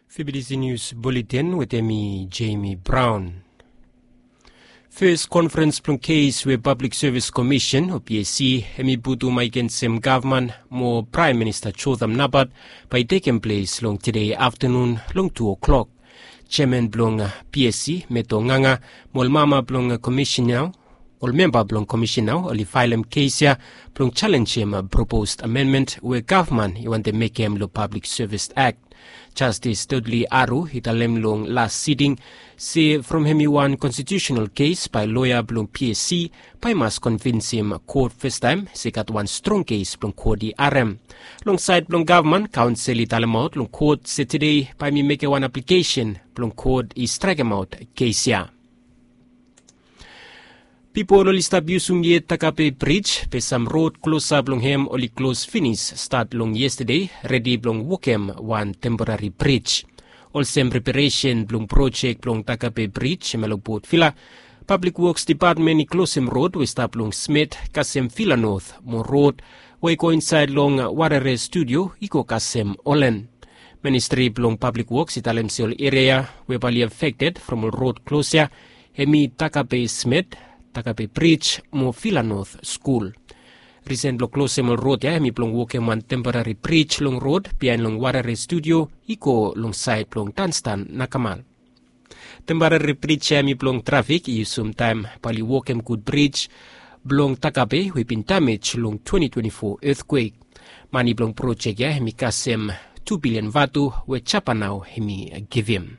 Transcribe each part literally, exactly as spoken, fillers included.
Fibidisi Nius Buletin wetem mi, Jamie Brown. Fes konferens blong kes we Pablik Sevis Komisen o P S C hemi putum agensem gavman mo Praem Minista Jotham Napat bae i tekem ples long tede aftanun long tu o'klok. Jeaman blong P S C, Meto Nganga, mo ol mama blong komisen nao, ol memba blong komisen nao oli faelem kes ya blong jalenjem propos amenmen we gavman i wantem mekem long Pablik Sevis Akt. Jastis Dudley Aru i talem long las siting se from hemi wan konstitiusenal kes bae loea blong P S C bae i mas konvinsim kot fastaem se i gat wan strong kes blong kot i harem. Long saed blong gavman, kaonsel i talemaot long kot se tede bae hemi mekem wan aplikesen blong kot i straekemaot kes ya. Pipol oli stap yusum yet Takape Brij, be sam rod klosap long hem oli klos finis stat long yestede, redi blong wokem wan temporari brij. Olsem preparesen blong projek blong Takape Brij hemia long Port Vila, Pablik Woks Depatmen i klosem rod we i stap long Smit kasem Vila Not mo rod we i go insaed long Warere Studio i go kasem Olen. Ministri blong Pablik Woks i talem se ol eria we bae oli afekted from ol rod klos ya hemi Takape Smit, Takape Brij mo Vila Not Skul. Risen blong klosem ol rod ya hemi blong wokem wan temporari brij long rod biaen long Warere Studio i go long saed blong Dunstan Nakamal. Temporari brij ya hemi blong trafik i yusum taem bae oli wokem gud brij blong Takape we i bin damej long twenti twenti fo etkwek. Mane blong projek ya hemi kasem tu bilian vatu we Japan nao hemi givim.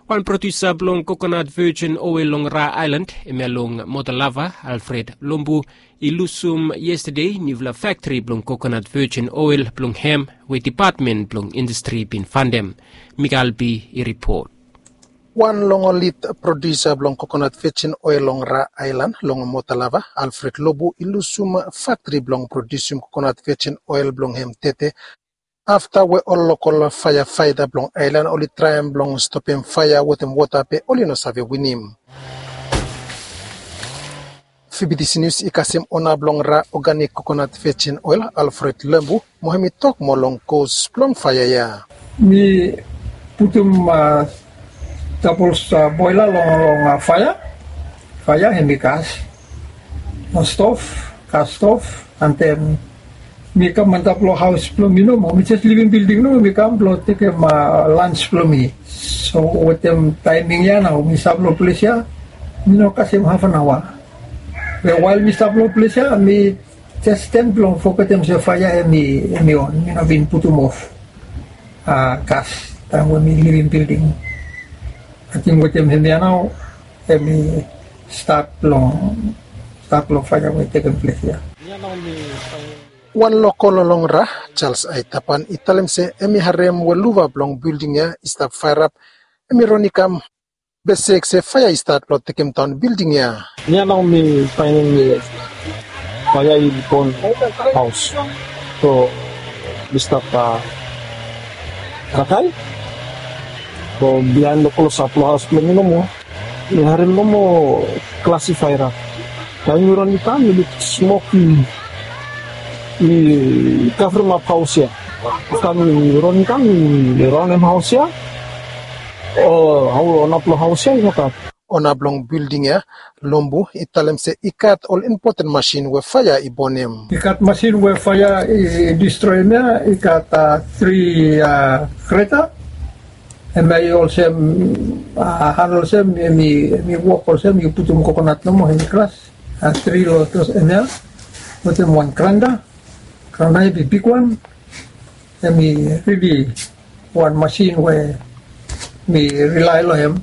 Wan prodiusa blong kokonat vejin oel long Ra Aelan, hemia long Motalava, Alfred Lombu, i lusum yestede niufala faktri blong kokonat vejin oel blong hem we Depatmen blong Indastri i bin fandem. Mika Albi i ripot. Wan long ol lid prodiusa blong kokonat vejin oel long Ra Aelan long Motalava, Alfred Lombu, i lusum faktri blong prodiusim kokonat vejin oel blong hem tede afta we ol lokol faeafaeta blong aelan oli traem blong stopem faea wetem wota be oli no save winim. Fibidisi Nius i kasem ona blong Ra Oganik Kokonat Vejin Oel, Alfred Lombu, mo hemi tok moa long kos blong faea ya. Mi putum, a, dabol, a, boela long, long, a, faea. Faea hemi gas. No stov, gas stov, and then mi kam antap long haos blong mi nomo. Mi jes livim bilding nomo, mi kam blong tekem, a, lans blong mi. So wetem taeming ya nao mi stap long ples ya, mi no kasem haf an aoa. Be wael mi stap long ples ya, mi jes stem blong fogetem se faea hemi, hemi on, mi no bin putum of, a, gas taem we mi livim bilding. Ating wetem hemia nao hemi stat long, stat long faea we i tekem ples ya. Wan lokol long Ra, Charles Aitapan, i talem se hemi harem we luva blong bilding ya i stap faerap, hemi ron i kam, be sek se faea i stat blong tekemdaon bilding ya. Ia nao mi faenem se faea i bon haos. So mi stap, a, kakae. So biaen long klosap long haos blong mi nomo, mi harem nomo klasifaera. Taem mi ron i kam, mi luk smok i, i kavremap haos ya. Afta mi ron i kam, mi raonem haos ya. O, hao, ona blong haos ya i no gat. Ona blong bilding ya, Lombu, i talem se i gat ol impoten masin we faea i bonem. I gat masin we faea i, i distroem ya, i gat, a, tri, a, greta. Hemia i olsem, a, han olsem, hemi, hemi wok olsem yu putum kokonat nomo, hemi kras. A, tri long klos hemia, wetem wan granda, granda hemi bigwan, hemi rili wan masin we mi rilae long hem.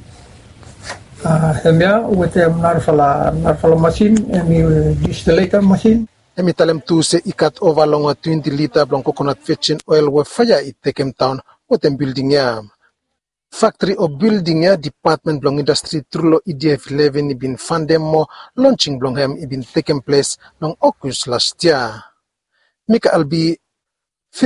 A, hemia wetem narafala, narafala masin, hemi distileta masin. Hemi talem tu se i gat ova long twenti lita blong kokonat vejin oel we faea i tekemdaon wetem bilding ya. Faktri o bilding ya, Depatmen blong Indastri tru long E D F eleven i bin fandem mo lonsing blong hem i bin tekem ples long Ogos las yia. Mika Albi,